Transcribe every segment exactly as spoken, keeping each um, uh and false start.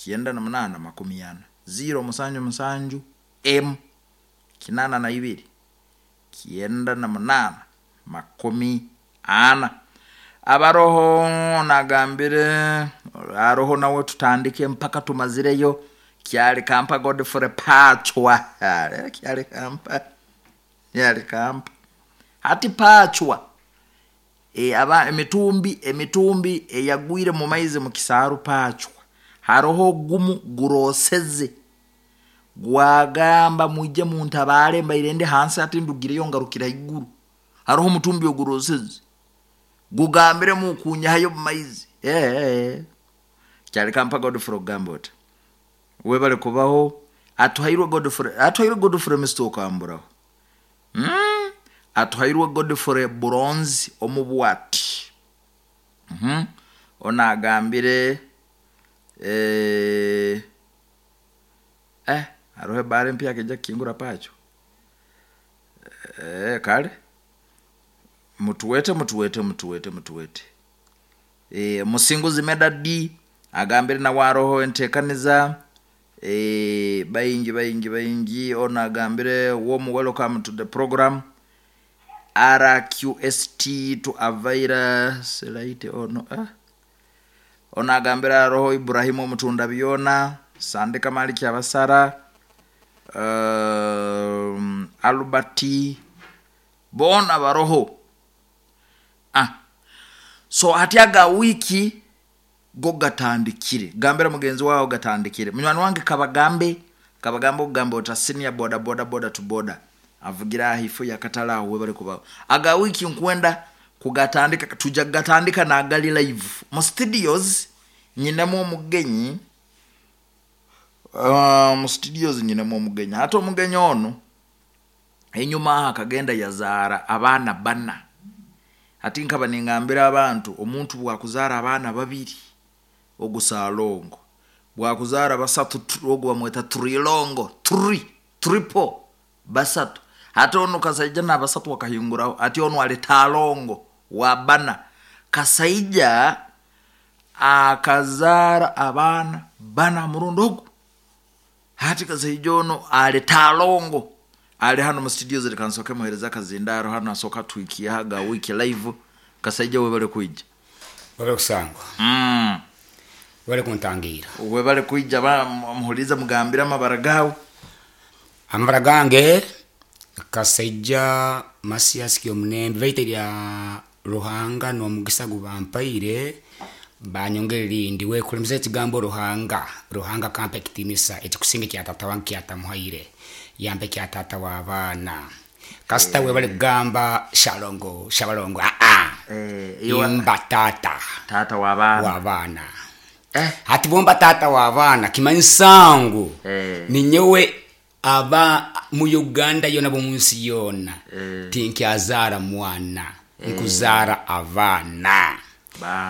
Kyenda na munana makumi ana ziro musanju musanju emu kinana na ibiri kyenda na munana makumi ana. Abaroho nagambire aroho nawe tutandike mpaka tumazireyo. Kyali kampa Godfrey Pachwa. Kyali kampa, kyali kampa hati Pachwa. E, aba emitumbi emitumbi eyagwire mu maizi mu kisaaru Pachwa haroho gumu guroseze gwagamba mwije muntabare mbaire ndi hansi ati ndugireyo ngarukira iguru. Haroho omutumbi oguroseze gugambire mukunyahayo mu maizi. Eh, eh. Kyali kampa Godfrey ogamba oti webale kubaho. Atuhairwe Godfrey, atuhairwe Godfrey Mister Okamburaho. Mm? Atuhairwe Godfrey Bronze omubwati. Mhm. Ona agambire eh eh arohe bare mpya keja kingura pacho. Eh kale mutuwete mutuwete mutuwete mutuwete. Eh musinguzi medadi agambire na waroho entekaniza. Eh bayingi bayingi bayingi. Ona agambire warm welcome to the program R Q S T to Avaira Selaite ono eh ona agambira roho Ibrahimu mutunda biona Sandika Maliki Abasara um, Alberti bona baroho. Ah so hatyaga wiki go gatandikire gambira mugenzi wao gatandikire munywani wange kabagambe kabagambe ogambe ota senior boda boda boda to boda avugira hifo yakatala awo webale kubaho aga wiki nkwenda kugatandika tuja gatandika na gali live mu studios nyinemu omugenyi. Uh, mu studios nyinemu omugenyi ate omugenyi ono enyuma akagenda yazaara abaana bana. Ati nkaba ningambira abantu omuntu bwakuzaara abaana babiri ogusalongo bwakuzaara basatu ogu bamweta trilongo tri triple basatu ate ono kasaija na basatu wakahinguraho ati ono alitalongo wa bana kasaija akazaara abaana bana murundo ogu hati kasaija ono alitalongo ali hano mu studio ziri kansoke muhereza kazindaro hano asoka twikiyaga wiki live kasaija webale kuija webale kusangwa mm webale kuntangira webale kuija ba muhuliza mugambira amabara gawe amabara gange kasaija Masias Kyomunembe baita lya Ruhanga n'omugisa gubampaire banyongere lindi wekulemesa ekigambo Ruhanga Ruhanga kampa ekitinisa ekikusinga kya tata wange kyatamuhaire yampe kya tata w'abaana kasita eh. Webale kugamba shalongo shabalongo a a eh, imba tata tata w'abaana w'abaana eh. Hati bomba tata w'abaana kimanyisangu eh. Ninyewe aba mu Uganda yona bo munsi yona eh. Tinkyazara mwana eh. Nkuzara abaana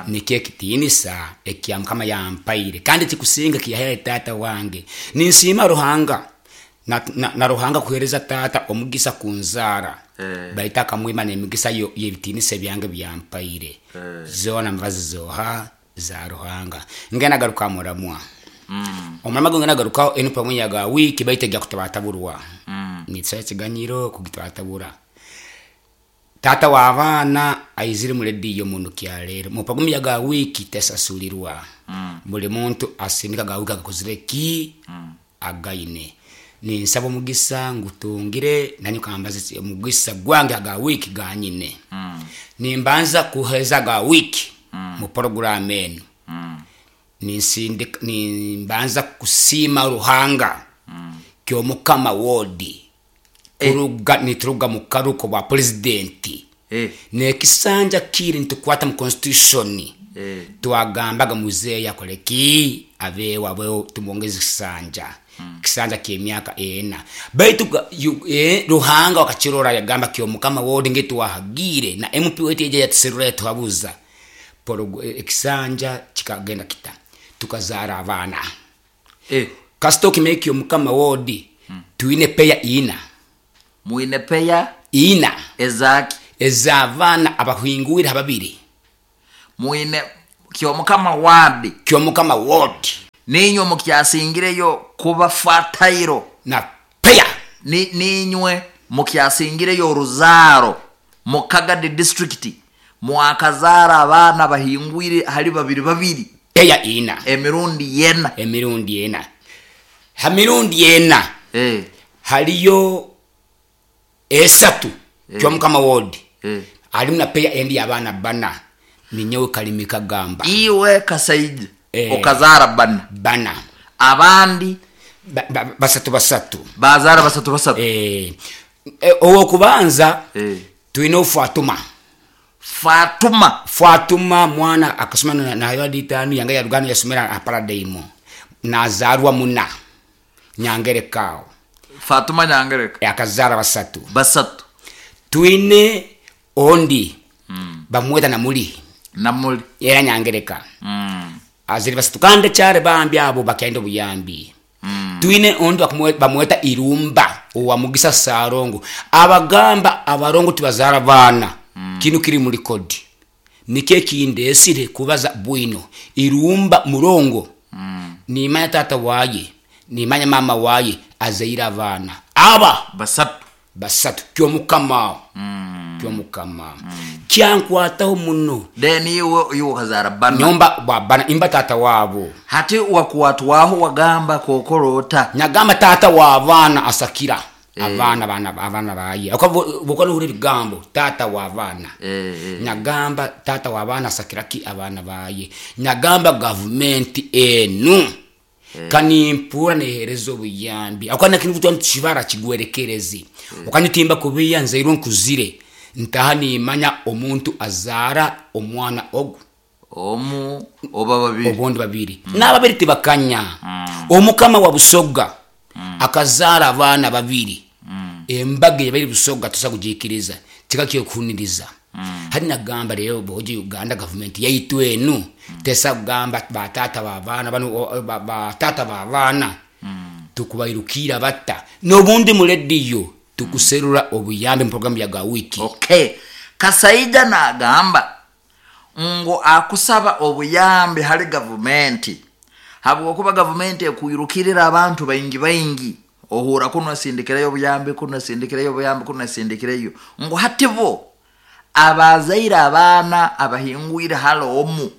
nikyo ekitinisa ekya Mukama yampaire kandi kikusinga kiyahaire tata wange ninsiima Ruhanga na, na, na Ruhanga kuhereza tata omugisa kunzara eh. Baita akamwima n'emigisa y'ebitinisa byange byampaire eh. Zona mbazi zoha za Ruhanga ngenda garuka muramwa mm. Omurama gwe ngenda garuka enu pamwe yaga wiki baita gya kutabataburwa mm. Nitsa ekiganyiro kugitabatabura tata w'abaana aizire mu rediyo muntu kyaleero mupagumi yaga wiki tesasulirwa mm. Buli muntu asindika ga wiki agakozire ki mm. Againe ninsaba omugisa ngutungire nanyo kambaze omugisa gwange aga wiki ganyine mm. Nimbanza kuheza ga wiki mm. Mu program eno mm. Ninsindika nimbanza kusiima Ruhanga mm. Kyomukama wodi kuruga eh. Nituruga mu karuko bwa presidenti eh. Nekisanja kiri nitukwata mu constitution eh. Twagambaga muzeeyi akole ki abeewo abeewo tumwongeze kisanja mm. Kisanja ky'emyaka ena baitu e, Ruhanga wakakirora yagamba kyomukama wodi ngetuwahagire na M P wetu eja yatuserura yatuhabuza ekisanja kikagenda kita tukazaara abaana eh. Kasita okimanya kyomukama wodi mm. Twine peya ina mwine peya ina ezaki ez'abaana abahingwire ababiri mwine kyomukama wadi kyomukama wodi Ninywe mukyasingireyo kuba fatayiro na peya. Ni, ninywe mukyasingireyo oruzaaro mu Kagadi district, mwakazaara abaana bahingwire hali babiri babiri peya ina emirundi yena. Emirundi ena, ha mirundi ena eh. haliyo esatu eh. Kyomukama wodi eh. alimu na peya endi abaana bana, ninyowe Kalimi Kagamba. Iwe Kasaija eh. Okazaara bana bana, abandi ba, ba, basatu basatu bazaara basatu basatu eh. E, owokubanza eh. twine Fatuma. Fatuma Fatuma mwana akasoma na nayo aditanu yanga ya Rugano yasomera a Paradigm nazarwa muna Nyangerekao. Fatuma Nyangereka akazara basatu basatu. Twine ondi mm. bamweta namuli namuli era Nyangereka mm. aziri basatu kandi cyare bambi abo bakenda obuyambi mm. Twine ondi bamweta Irumba owa Mugisa Sarongo. Abagamba abarongo tibazara bana mm. kinu kiri muri kodi nike kindesire kubaza bwino Irumba murongo mm. nimanya tata waye nimanya mama waye azaira abana aba basatu basatu kyomukama mm. kyomukama mm. kyankwataho muno. Then iwe iwe kazara bana nyomba bana imba tata wabo hati wakuwatwaho wagamba kokorota nyagamba tata wa abana asakira eh. Abana bana abana baye akabukona uri bigambo tata wa abana eh, eh. Nyagamba tata wa abana asakira ki abana baye. Nyagamba government enu eh. Kanimpura neherezo buyambi akana kintu ntishibara kigwerekerezi eh. Ukanyutimba kubiya nzeiro nkuzire ntaha nimanya omuntu azara omwana ogu omu oba babiri obondi babiri mm. N'ababiri tibakanya mm. Omukama wa Busoga mm. akazara abaana babiri mm. Embaga yabiri Busoga tusa kujikiriza kikakiyo kuniriza mm. Hadi nagamba rero boji Uganda government yaitu enu mm. tesa kugamba batata babana bano batata babana mm. tukubairukira batta nobundi mu radio tukuserura obuyambe mu program ya gawiki. Okay, Kasaija nagamba ngo akusaba obuyambe hali government habwokuba government ekuirukirira abantu baingi baingi ohura kuno sindikireyo obuyambe kuno sindikireyo obuyambe kuno sindikireyo ngo hatibo abazaira abaana abahingwire hali omu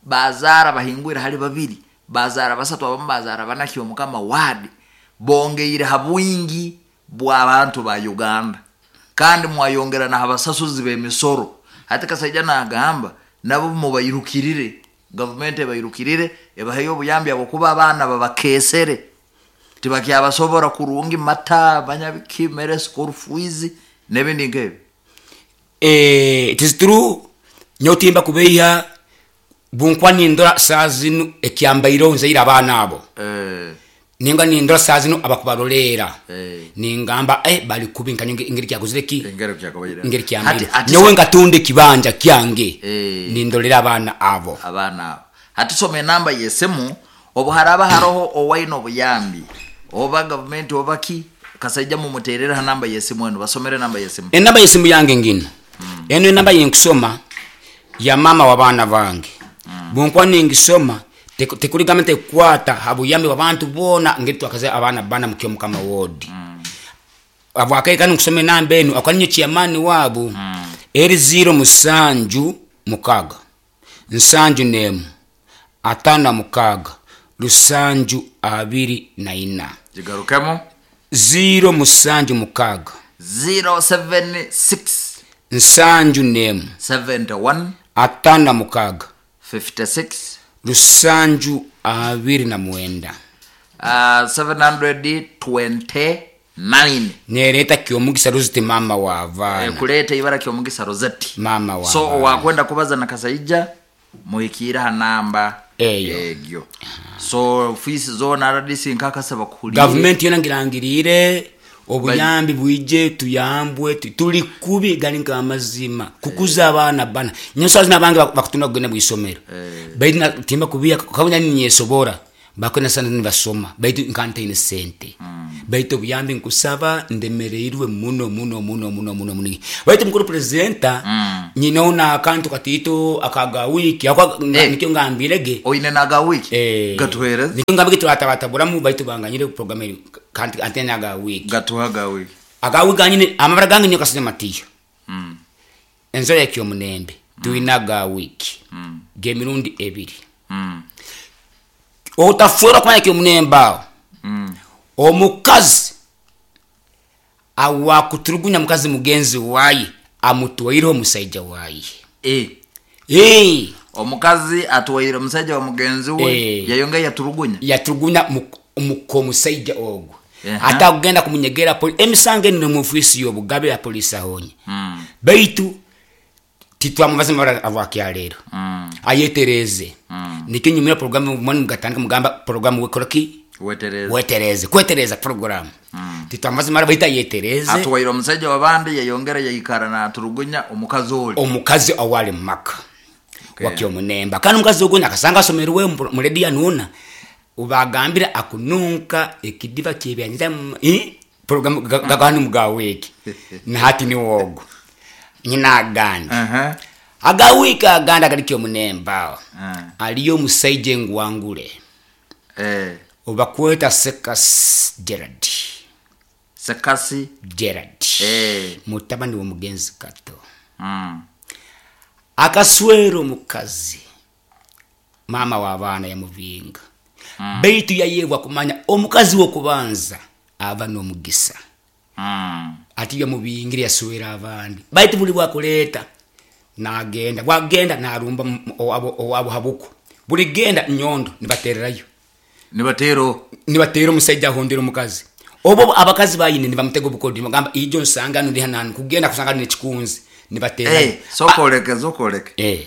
bazara bahingwire hali babiri bazara basatu abamu bazara bana Kyomukama wadi bongeire habwingi bw'abantu ba Uganda kandi mwayongera na habasasuzi b'emisoro. Hati Kasaija nagamba nabo mubayirukirire government ebayirukirire ebaheyo obuyambi abo kuba abaana babakesere tibakyabasobora kurungi mata banyabiki mere school fees n'ebindi nk'ebyo. Eh, it is true nyotimba kubeya bunkwa nindora sazinu ekyambairo nzeira abaana abo eh. Ninga nindora sazinu abakubarolera eh. Ningamba eh bali kubinka ingeri kyakuzire ki ingeri kyakobaire ingeri kyambaire nyowe ngatunde kibanja kyange eh. Nindolera abaana abo abaana abo hati soma enamba yesimu obuharaba haroho owaino obuyambi oba government oba ki Kasaija mumuterera namba yesimu eno basomere namba yesimu enamba yesimu yange ngino mm. Eno enamba yenkusoma ya mama wa baana bange mm. Bunkwa ningisoma tekuligamba tekwata habuyambi wabantu bona ngeri twakaze abaana bana mu Kyomukama wodi mm. Abwakaye nkusoma enamba eno akaninyo chairman wabu mm. Eri zero musanju mukaga nsanju nemu atana mukaga lusanju abiri na ina jigarukemo zero musanju mukaga zero seven six nsanju nemu seventy one atana mukaga fifty six lusanju abiri na mwenda uh, seven hundred twenty nine nereta Kyomugisa Rosette mama wa abaana e, kuleta ibara Kyomugisa Rosette mama wa so wakwenda kubaza na Kasaija muhikira ha namba eyo egyo so fees zona R D C nkakasaba kuhulire government yona ngirangirire obuyambi bwije tuyambwe tuli kubi gali nka amazima kukuza abaana bana nyosazi nabange bakutunda kugenda mwisomero eh. Baitu na timba kubiya kabunya ninyesobora bakona sana nibasoma baitu nkantaine sente mm. Baitu obuyambi nkusaba, ndemereirwe muno muno muno muno muno muno. Baitu mukuru presenter, Mm. nyinaona akantu katito akaga wiki ako. Eh. Nikyo ngambirege. Oine naga wiki? Eh, gatuhereze. Nikyo ngambire turatabataburamu, baitu banganyire program eri kanti antena aga wiki. Gatuha ga wiki. Aga wiki ganyine amabara gange nyo kasije matiyo. Mm. Enzora ekyomunembe tuina aga wiki Mm. gemirundi ebiri. Mm. Otafuera kumanya kyomunembe awo. Mm. Omukazi awakuturugunya mukazi mugenzi waye amutwaireho omusaija waye. Eh. Eh, omukazi atwaire omusajja wa mugenzi we. Eh. Yayonga yaturugunya. Yaturugunya muko omusaija ogwo. Aha. Ate akugenda kumunyegera poli emisango eno mu ofiisi y'obugabe ya polisi ahonye. Mm. Baitu titwamubaza mabara avwakyaleero. Mm. Ayetereze. Mm. Nikyo nyumira programu mwani mugatandika mugamba programu wekoraki. Wetereze. Wetereze, kwetereza programu. Mm. Titwamubaza mara baita yetereze. Atwaire omusajja wabandi, yayongera yayikara naturugunya omukazi oli. Omukazi awali mumaka. Okay. Wakyomunemba kandi omukazi ogwo nakasanga asomerwe muredi anuuna ubagambira akununka ekidiba kyebyanjira programu gaganu mugaweki nahati ni wogo nyina aganda. Aha. Agawika aganda gali kyomunemba. Ah. Aliyo omusaija engwangule. Eh. Obakweta Sekas Gerard. Sekasi Gerard. Eh. Mutabani w'omugenzi Kato. Mm. Akaswero omukazi maama w'abaana yamuvinga. Mm. Baitu yayebwa kumanya omukazi w'okubanza aba n'omugisa. Mm. Ati yamubingire yaswera abandi, baitu buli bwakuleeta nagenda bwagenda narumba owabo owabo habuko buli genda nyondo nibatererayo. Nibatero. Nibatera omusajja ahondera omukazi obo abakazi bayine nibamutega obukodi nibagamba ijo nsanga ndi hananu kugenda kusanga nekikunzi nibatera. Eh, sokoleke sokoleke. Eh.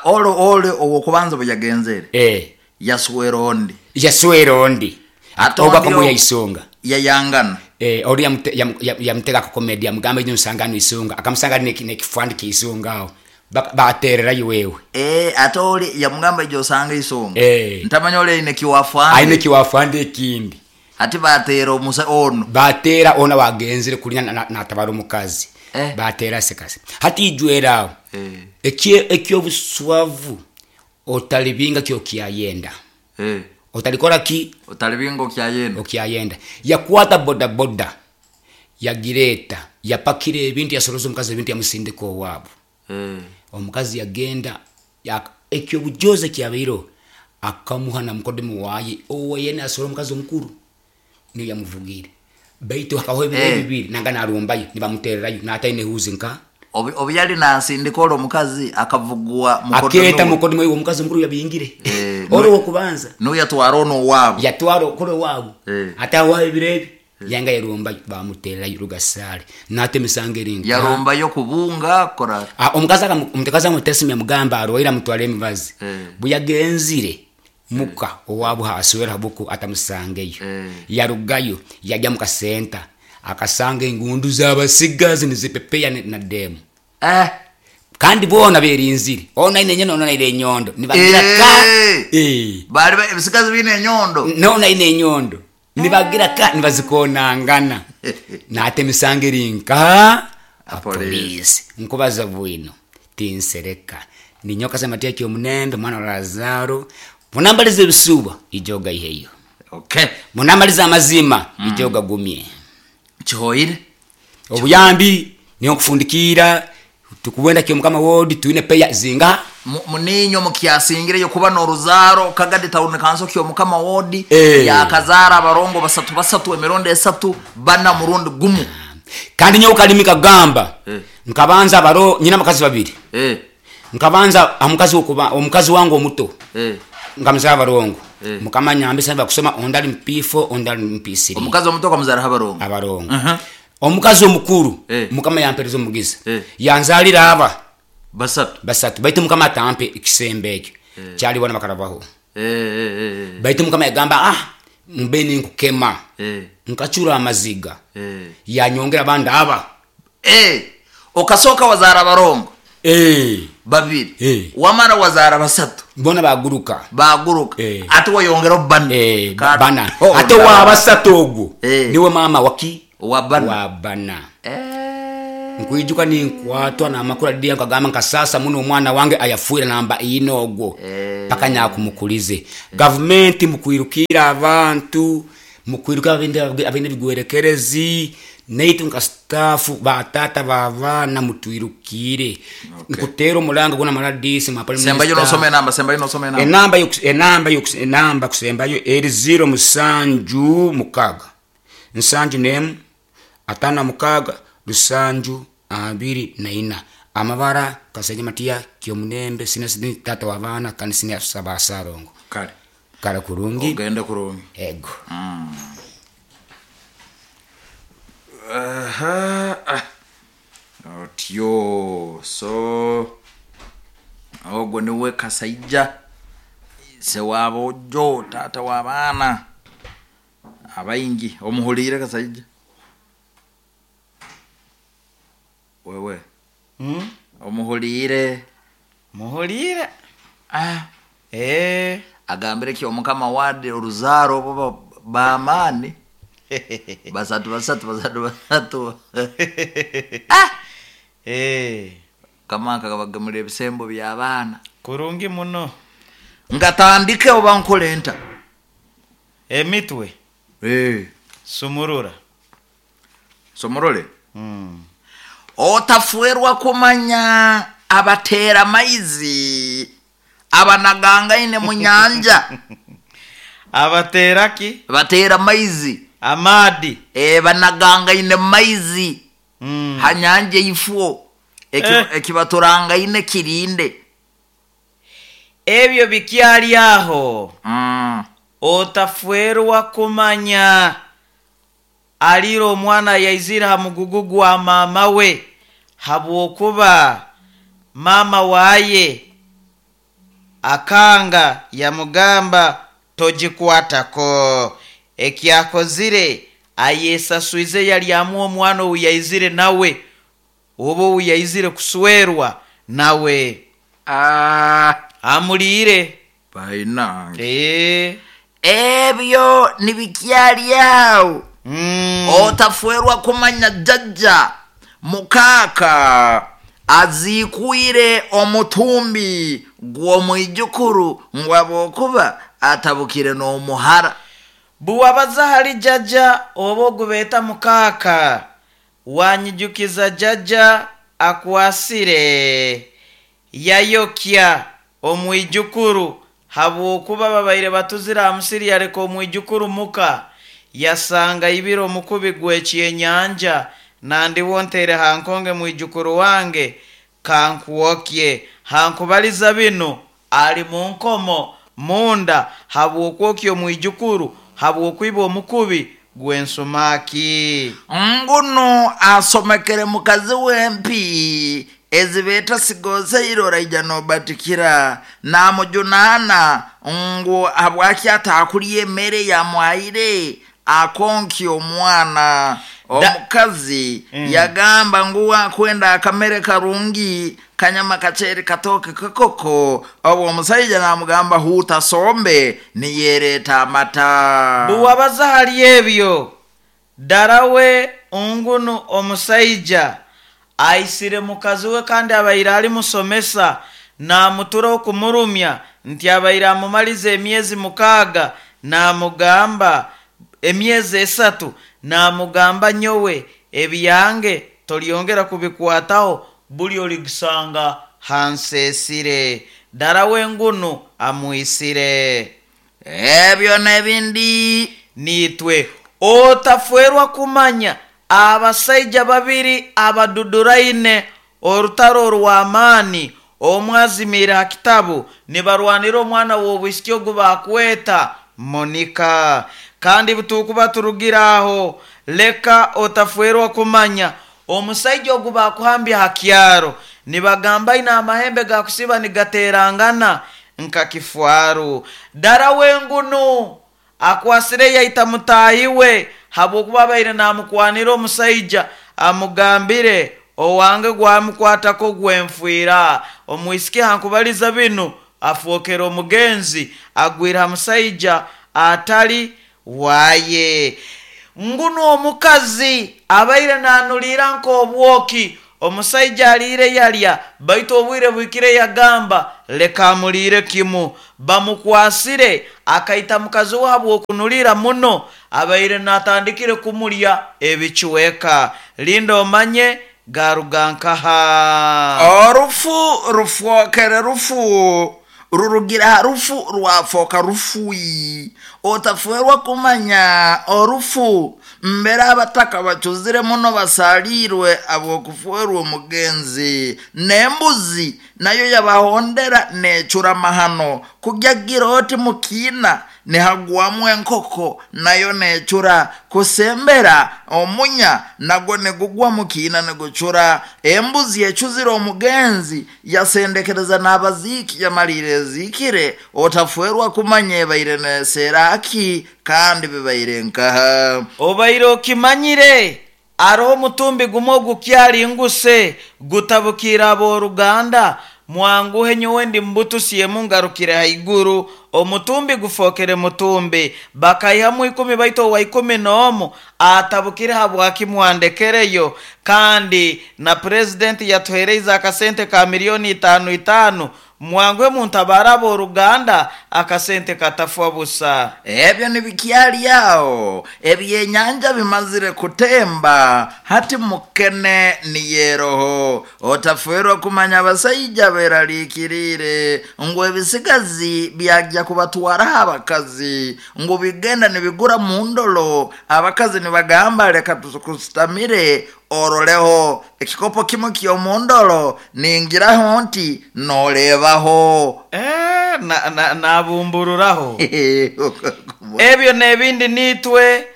Olo ole owokubanza bwe yagenzere. Eh. Yaswera ondi. Yaswera ondi. Ate oba ondi kamuya o- isonga. Yayangana. Eh, ori yamute, yam, yamutega ku comedy yamugamba ijo nsanga isonga akamusanga ne nekifandi kisonga aho. Baterera wewe. Eh, ate oli yamugamba ijo sanga isonga. Eh. Ntamanya ole ine kiwafandi. Aine kiwafandi ekindi. Ati batera omusa ono. Batera ona wagenzere kulinya natabara omukazi. Eh. Batera sekasi. Hati ijwera. Eh. Ekye ekyo buswavu otalibinga kyo kyayenda. Eh. Otalikora ki? Otalibinga kyayenda. Okyayenda. Yakwata boda boda. Yagireta, yapakire ebintu yasoroza omukazi ebintu yamusindika owabo. Eh. Omukazi yagenda ya ekyo bujoze kyabeiro akamuha na mukodemu waye owe yena asoro omukazi omukuru niyo yamuvugire. Baitu akaho ebintu Eh. bibiri nanga narumbayo nibamutererayo nataine huzi nka Obi, obi yali nasindika olwo omukazi akavugwa mukodemu. Aketa mukodemu we omukazi omukuru yabingire. Eh, olwo okubanza no yatwara ono waabo. Yatwara okolo waabo. Eh. Ate awo ebirebi yanga yarumbayo bamutererayo rugasale nate misango eringa. Yarumbayo kubunga kora. Ah, omukazi akamu-, omukazi amutesimya mugamba arwaira mutwale emibazi. Eh. Buyagenzire muka owabo haswera habuku atamusangeyo. Eh. Yarugayo yajya mu kasenta akasanga engundu z'abasigazi nizipepeya na demu. Eh. Kandi bona berinzire ona ine nyono ona ine nyondo nibagira ka. Eh. Eh. Bali ba ebisigazi bine enyondo. Nona ine nyondo nibagira ka nibazikonangana. Nate misango erinka Apolisi. apolisi nkubaza bwino tinsereka ninyoka samatia kyomunendo mwana wa Lazaro munambalize ebisuba ijoga iheyo. Okay. Munambalize amazima. Mm. Ijoga gumye. Kihoire. Obuyambi niyo kufundikira tukuwenda kyo mukama wodi tuine peya zinga. Muninyo mukyasingire yo kuba n'oruzaro Kagadi town council kyo mukama wodi. Eh. Yakazara abarongo basatu basatu emirondo esatu bana murundi gumu. Kandi nyo ukalimika gamba. Eh. Nkabanza baro nyina makazi babiri. Eh. Nkabanza omukazi okuba omukazi wangu omuto. Eh. Nkamuzara abarongo. Eh. Mukama nyambe saba kusoma ondali mpifo ondali mpisiri. Omukazi omuto kamuzara abarongo. Abarongo. Uh -huh. Omukazi omukuru. Eh. Mukama yampereza omugisa. Eh. Yanzalira aba basatu. Basatu baitu mukama atampe ekisembe ekyo. Eh. Kyali wana bakarabaho. Eh, eh, eh. Baitu mukama yagamba ah mbeni nkukema. Eh. Nkachura amaziga. Eh. Yanyongera banda aba. Eh. Okasoka wazara abarongo. Eh. Babiri. Eh. Wamara wazara basatu. Bona baguruka. Baguruka. Eh. Ate wayongera bana. Eh, Ka- bana. Oh, Ate wa basatu ogwo Eh. niwe maama waki wa bana. Wa bana. Eh. Nkwijuka ninkwatwa namakuru adiya nkagamba nka sasa muno omwana wange ayafuira namba ina ogwo Eh. paka nyakumukulize. Gavumenti mukwirukira abantu, mukwirukira abindi abindi bigwerekerezi naitu nka staff batata babaana mutwirukire. Okay. Nkutera omulanga guna maradisi ma prime Sembayo minister. nosoma enamba, sembayo nosoma enamba. Enamba yokus-, enamba yokus-, enamba kusembayo eri zero musanju mukaga nsanju nemu atano mukaga lusanju abiri na ina. Amabara Kasaija Matiya Kyomunembe sina sini tata wa baana kandi sina saba sarongo. Kale. Kale kurungi. Ogende kurungi. Ego. Mm. Aha. Ah. Otyo. So ogwo niwe Kasaija se wabojo tata wa baana abaingi omuhuliire Kasaija wewe. Mm? Omuhuliire. Muhuliire. Ah. Eh. Agambire ki omukama wade oruzaaro obo bamaani basatu basatu basatu basatu. Ah. Eh. Kama kabagamulira ebisembo by'abaana. Kurungi muno. Ngatandike oba nkole nta. Emitwe. Eh. Sumurura. Somorole. Mm. Otafuerwa kumanya abatera maizi abanagangaine mu nyanja. Abatera ki? Batera maizi. Amadi. Eh, banagangaine maizi. Mm. Hanyanje ifuo. Eki, Eh. Ekibaturangaine kirinde. Ebyo bikyali aho. Mm. Otafuerwa kumanya aliro omwana yaizira ha mugugu gwa mama we habwokuba mama waye akanga yamugamba togikwatako. Ekyakozire ayesaswize yalyamu omwana owu yaizire nawe oba owu yaizire kuswerwa nawe. Ah. Amuliire. Bainange. Eh. Ebyo nibikyali awo. Mm. Otafuerwa kumanya jjajja mukaaka aziikwire omutumbi gw'omwijukuru ngwabwokuba atabukire n'omuhara. Buwabaza hali jjajja oba ogubeeta mukaaka wanyijukiza jjajja akwasire yayokya omwijukuru habwokuba babaire batuzire aha musiri yareka omwijukuru muka yasanga ibiro omukubi gw'ekyenyanja nandiwo ntere hankonge mwijukuru wange kankuwokye hankubaliza bino ali mu nkomo munda habwokwokya omwijukuru habwokwiba omukubi gw'ensumaki. Nguno asomekere mukazi w'empi ezibeeta sigozeire oraija nobatikira namujunaana ngu habwaki ataakulya emmere yamwaire akonkya omwana. Omukazi Mm. yagamba ngu akwenda akamere karungi kanyama kachere katoke kakoko obwo omusajja namugamba huuta sombe niyereeta amata. Buwabaza hali ebyo darawe ngunu omusajja aisire mukazi we kandi abaire ali musomesa namutura okumurumya nti abaire amumaliza emyezi mukaaga namugamba emyezi esatu namugamba nyowe ebyange tolyongera kubikwataho buli oligisanga hansesire. Darawe ngunu amwisire. Ebyo n'ebindi nitwe otafuerwa kumanya abasajja babiri abaduduraine orutaro orw'amaani omwazimire ha kitabu nibarwanira omwana w'obwisiki ogu bakweta Monica. Kandi butukuba turugira aho leka otafuerwa kumanya omusajja ogu bakuhambya ha kyaro nibagamba ina amahembe gakusiba nigaterangana nka kifwaru. Dara wengunu akwasire yaita mutahi we habwokuba abaire namukwanira omusajja amugambire owange gwamukwatako gwenfwira. Omwisiki hankubaliza binu Afwokera omugenzi agwire ha musaija atali waye. Nguno omukazi abaire nanulira nk'obwoki, omusaija aliire yalya, baitu obwire bwikire yagamba leka amuliire kimu. Bamukwasire akaita mukazi we habw'okunulira muno, abaire natandikire kumulya ebicweka. Linda omanye garuga nkaha. Orufu rufwokere rufu rurugira ha rufu rwafoka rufui. Otafwerwa kumanya orufu mbere abataka bacuzire muno basalirwe abw'okufwerwa omugenzi, n'embuzi nayo yabahondera necura mahano. Kugyagira oti mukiina nihagwamu enkoko nayo necura, kusembera omunya nagwo nigugwa mukiina nigucura. Embuzi ecuzire omugenzi yasendekereza n'abaziiki yamalire eziikire. Otafwerwa kumanya ebaire neseraki kandi bibaire nkaha. Obaire okimanyire aroho omutumbi gumwe ogukyali nguse gutabukire ab'oruganda, mwanguhe nyowe ndi mbutusiemu ngarukire haiguru. Omutumbi gufokere mutumbi, bakaihamu ikumi baitu owa ikumi n'omu atabukire habwaki mwandekereyo. Kandi na purezidenti yatuhereize akasente ka milioni itaano itaano, mwanguhe muntabara ab'oruganda akasente katafwa busa. Ebyo nibikyali aho, ebyenyanja bimazire kutemba, hati mukene niyeroho. Otafwerwa kumanya abasaija beraliikirire ngu ebisigazi byajya kubatwaraho abakazi, ngu bigenda nibigura mu ndolo. Abakazi nibagamba leka tukusitamire oroleho ekikopo kimwe ky'omundolo, ningiraho nti norebaho. Eh, na, na, nabumbururaho. Ebyo n'ebindi nitwe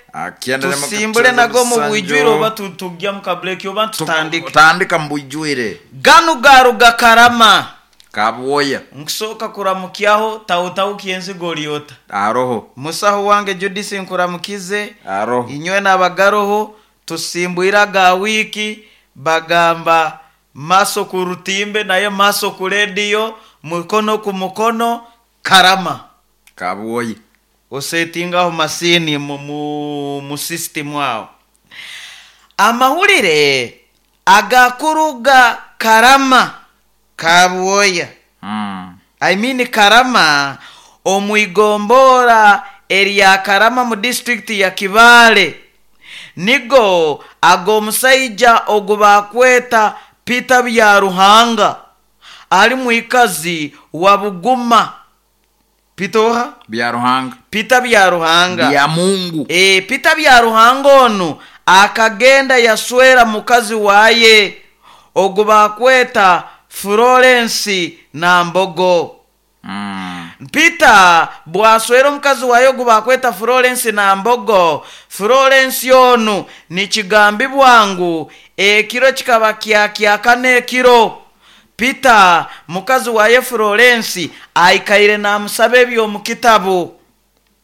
tusimbule nago mu bwijwire oba tujya mu kabureki oba tutandike. Tutandika mu bwijwire. Ganu garuga Karama kabwoya nkusooka kuramukyaho tawutawu kyenzigo lyota. Aroho musaho wange Judisi nkuramukize. Aroho inywe n'abagaroho tusimbwira ga wiki bagamba maso ku rutimbe naye maso ku rediyo, mukono ku mukono Karama kabwoya osetingaho masini mu, mu, mu system aho. Amahulire agakuruga Karama kabwoya mm. I mean Karama omwigombora erya Karama mu district ya Kibale, nigo ag'omusaija ogubakweta Peter Byaruhanga ali mwikazi wa Buguma. Pitoha Byaruhanga, Peter Byaruhanga bya Mungu. E, Peter Byaruhanga onu akagenda yaswera mukazi waye ogubakweta Florence Nambogo. Mm. Peter bwaswera omukazi waye ogubakweta Florence Nambogo. Florence onu nikigambibwa ngu ekiro kikaba kyakyaka n'ekiro Peter mukazi waye Florence aikaire namusaba ebyo kitabu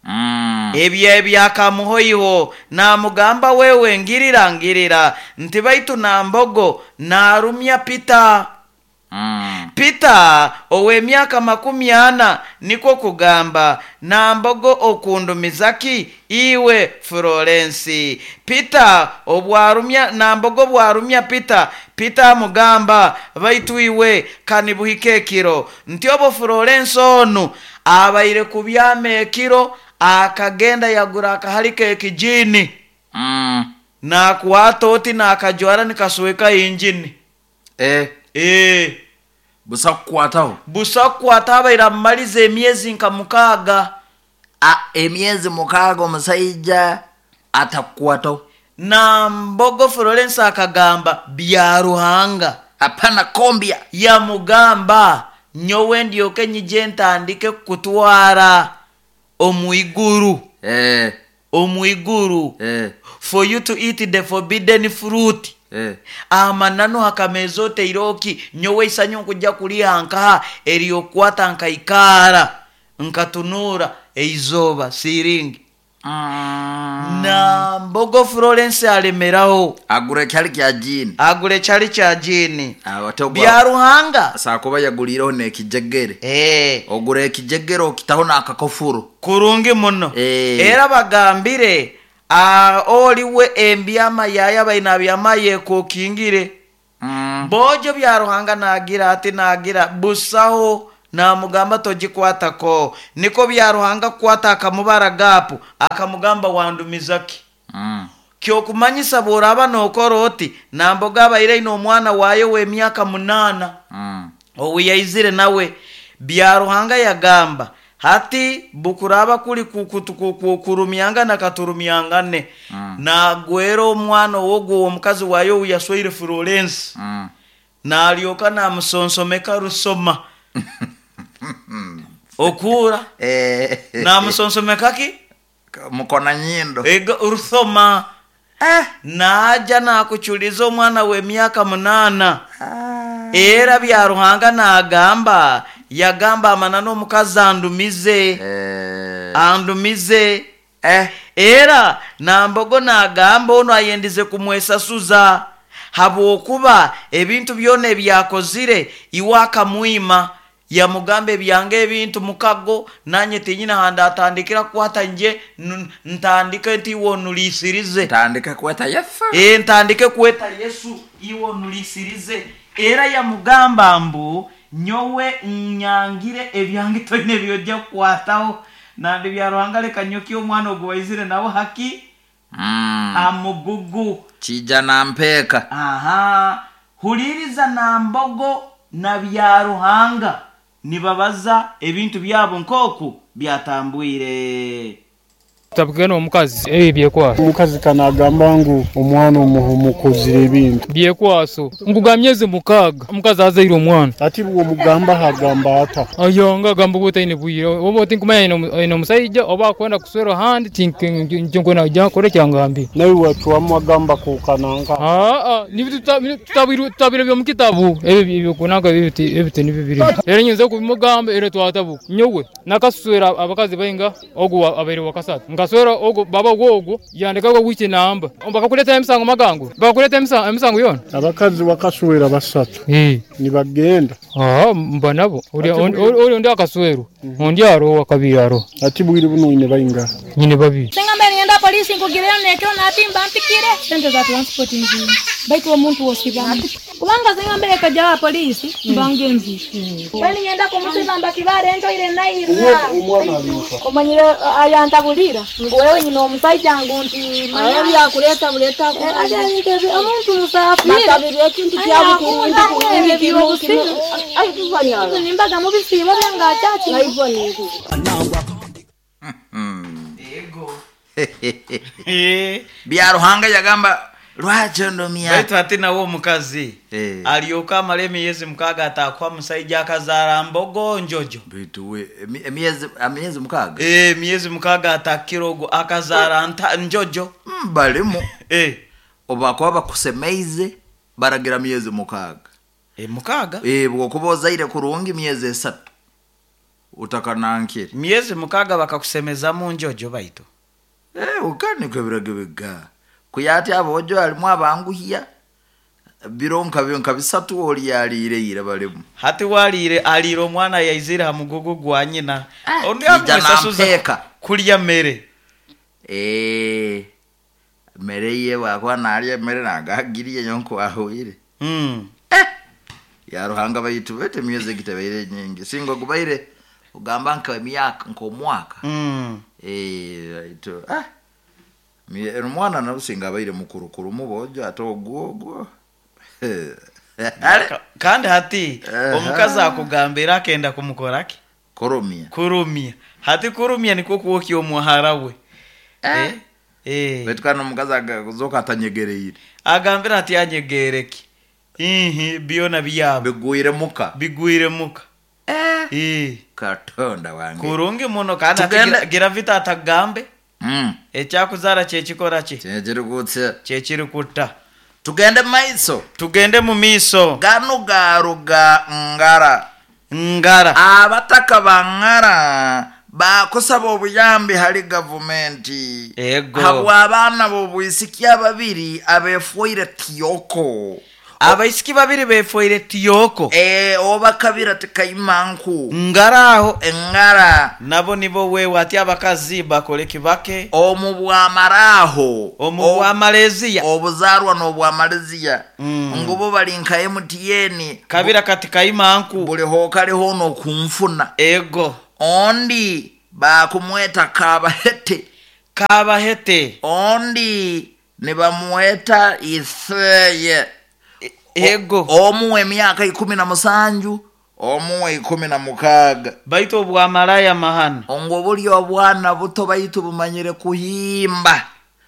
Mm. ebyo ebyakamuhoiho, namugamba wewe ngirira ngirira nti baitu Nambogo narumya Peter. Mm. Peter ow'emyaka makumi ana niko kugamba Nambogo okundumizaki iwe Florence. Peter obwarumya Nambogo bwarumya Peter. Peter amugamba baitu iwe kanibuhike ekiro nti obo Florence onu abaire kubyama ekiro akagenda yagura akahalika ekijini Mm. nakwata oti nakajwara nikasweka injini Eh, eh busa kukwataho busa kukwata abaire amumaliza emyezi nka mukaaga. A, emyezi mukaaga omusaija atakukwataho. Nambogo Florence akagamba Byaruhanga Hapana kombya. Yamugamba nyowe ndyoke nyije ntandike kutwara omwiguru. Eh. Omwiguru. Eh. For you to eat the forbidden fruit. Eh. Amananu hakameza oteiroki nyowe isanyu nkujja kuliha nkaha eryokwata nkaikara nkatunura eizoba siringi. Mm. Na Mbogo Florence alemeraho Agura kyali kya jini. Agura kyali kya jini. Abatogwa Bya Ruhanga sakuba yagulireho n'ekijegere. Eh, Ogura ekijegere okitaho n'akakofuro. Kurungi muno. Eh. Era bagambire ah, oliwe embyama yaya baina byama yekokingire. Mm. Bojo Bya Ruhanga nagira ati nagira busaho namugamba togikwatako niko Bya Ruhanga kukwata akamubara gapu akamugamba wandumizaki. Mm. Kyokumanyisa bworaba nokora oti namboga abaire ine omwana wayo w'emyaka munaana. Mm. Obu yaizire nawe Bya Ruhanga yagamba hati bukuraba kuli kurumyangana katurumyangane. Mm. Nagwera omwana wogwo omukazi wayo yaswaire Florence. Mm. Nalyoka namusonsomeka rusoma okura Eh. namusonsomeka ki Mukona nyindo. ego rusoma. Eh. Naja nakuchuliza omwana w'emyaka munaana. Ah. Era Bya Ruhanga nagamba yagamba amana n'omukazi andumize. Eh. Andumize. Eh. Era Nambogo nagamba ono ayendize kumwesasuza habwokuba ebintu byona ebyakozire iwe akamwima yamugamba ebyange ebintu mukago nanye tinyina handi atandikira kukwata nje ntandike nti iwe onulisirize. Ntandike kweta Yesu. E, ntandike kweta Yesu iwe onulisirize. Era yamugamba mbu nyowe nyangire ebyange toine byojja kukwataho nandi Bya Ruhanga leka nyoki omwana ogwo waizire nawe haki. Mm. Amugugu Kijja nampeeka. Aha, huliriza Nambogo na Bya Ruhanga nibabaza ebintu byabo nkoku byatambwire. Tabugena omukazi ebi byekwaso. Omukazi kanagamba ngu omwana omukozire ebintu byekwaso nguga myezi mukaaga omukazi azaire omwana. Ati bwo mugamba hagamba ata ayonga agamba butaine bwire oba otinkumanya aine omusajja oba akwenda kuswera handi tinkwenda kujya kore kyangambi nawe wacwamu agamba kukananga. Aa ni tutabire tutabire byo mukitabu ebi byokunanga ebi ebi ni bibiri era nyinza kubimugamba era twatabu nyowe nakaswera abakazi bainga ogu abaire wakasatu ngaswera ogo baba wogo yandika go wiki namba bakakuleta emisango magango bakakuleta emisango emisango yona abakazi wakaswera basatu eh nibagenda. Ah mba nabo uri uri ndi akaswero ondi aro wakabiri aro ati bwiri buno ine bainga nyine babiri singa mbere ngenda polisi nkugirira nekyo natimba mpikire sente za transport nzima baitu omuntu wosibana kubanga singa mbere kaja polisi mbange nzi bali ngenda kumusiba mbakibare ento ile naira omanyire ayantabulira ngo wewe nyina omusajja ngu nti manya byakuleta buleta omuntu musafi bakabiri ekintu kyabukurungi nimbaga mubisibo byanga chachi Ego. Eh. Bya Ruhanga yagamba lwakyo ndomya Baitu ati nawe omukazi Eh. alyoka amala emyezi mukaaga ataakwa musajja akazaala Mbogo njojo. Baitu we emi- emyezi emyezi mukaaga Eh, emyezi mukaaga atakira ogwo akazaala nta njojo. Mm, balimu Eh. obakuba bakusemeize baragira myezi mukaaga. Eh, mukaaga Eh, bwokuba ozaire kurungi myezi esatu utakanankire myezi mukaaga bakakusemezamu njojo baitu. Eh, ukaniko ebiragiro biga kuyati abojo alimu abanguhya biro nka nka bisatu oli yaliire ira balimu Hati waliire aliire omwana yaizire ha mugugu gwa nyina. Ondi Kijja amwesasuza nampeeka. kulya mere. Eh, mere ye wakuba nalya mere nagagiriye nyonko ahwire. Mm. Eh, ya Ruhanga baitu bete myezi gitabaire nyingi singo gubaire ugamba nka emyaka nk'omwaka. Mm. Eh, baitu ah Mie- omwana nabusinga abaire mukurukuru mubojo ate ogwo ogwo. Ale Ka- kandi hati Aha. omukazi akugambira akenda kumukoraki koromia kurumia hati kurumia niko kuokya omuhara we. Eh. Eh. baitu kandi omukazi agazoka atanyegereire Agambira ati anyegereki ihi byona byabo bigwire muka bigwire muka. Eh. Eh. Katonda wange Kurungi muno kandi ati Tugende- gira- gira vita atagambe Mm. ekyakuzara kyekikora ki Kyekiri kutya kyekiri kutta. Tugende maiso Tugende mu miiso. Gano garuga ngara Ngara abataka bangara Bakusaba obuyambi hali gavumenti Ego. Habwa abaana b'obwisiki ababiri abeefuire tiyoko. Abaisiki babiri beefuire tiyoko. E, oba kabira tikaimanku Ngaraho. Engara. Nabo nibo wewe ati abakazi bakole kibake. Omu bwamaraho. Omu bwamaleziya. Obuzarwa n'obwamaleziya. Mm. Ngubo bali nka M T N. Kabira katikaimanku. Buli hokaliho n'okunfuna. Ego. Ondi bakumweta kabahete. Kabahete. Ondi nibamweta Iseye. Ego. Omuwe emyaka ikumi na musanju, omuwe ikumi na mukaaga. Baitu obwamalaya mahana. Ongo buli obwana buto baitu bumanyire kuhimba.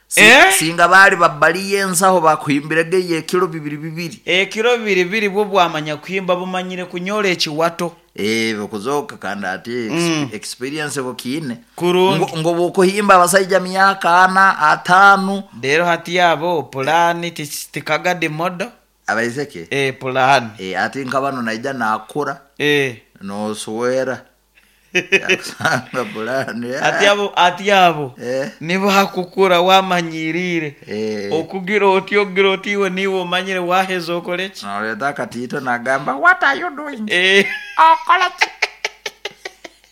Si, Eh? Singa bali babaliye ensaho bakuhimbirege ekiro bibiri bibiri. Ekiro bibiri bibiri bwo bwamanya kuhimba bumanyire kunyola ekiwato. Eh, bukuzoka kandi ati Mm. experience bukiine. Kurungi. Ngo, ngo bukuhimba abasajja myaka ana atanu. Rero hati yabo pulani tikagade modo. Abaiseke? Eh, pulani. Eh, ati nkabano naija nakura. Eh. Noswera. Yakusanga pulani. Ati abo, ati abo. Eh. Nibo hakukura wamanyirire. Eh. Okugira oti ogira oti iwe niwe omanyire waheza okoleki. Noleta akatito nagamba what are you doing? Eh. Okoleki.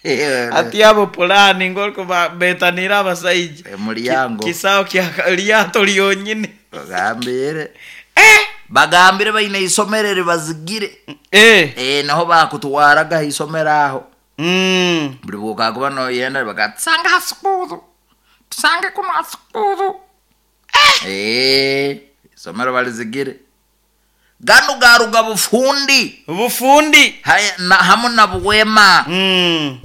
Eh. Ati abo pulani ngoriko betanira abasaija. Eh, mulyango. Kisao kya lyato lyonyine. Bagambire. Eh. Bagambire baine isomero ribazigire. Eh. Eh, naho bakutwaraga isomero aho. Mm. Buli bwokakuba noyenda bakatsanga hasukuru. Tusange kuno hasukuru. Eh. Eh, isomero balizigire. Ganu garuga bufundi. Bufundi. Haya, na, hamu na bwema. Mm.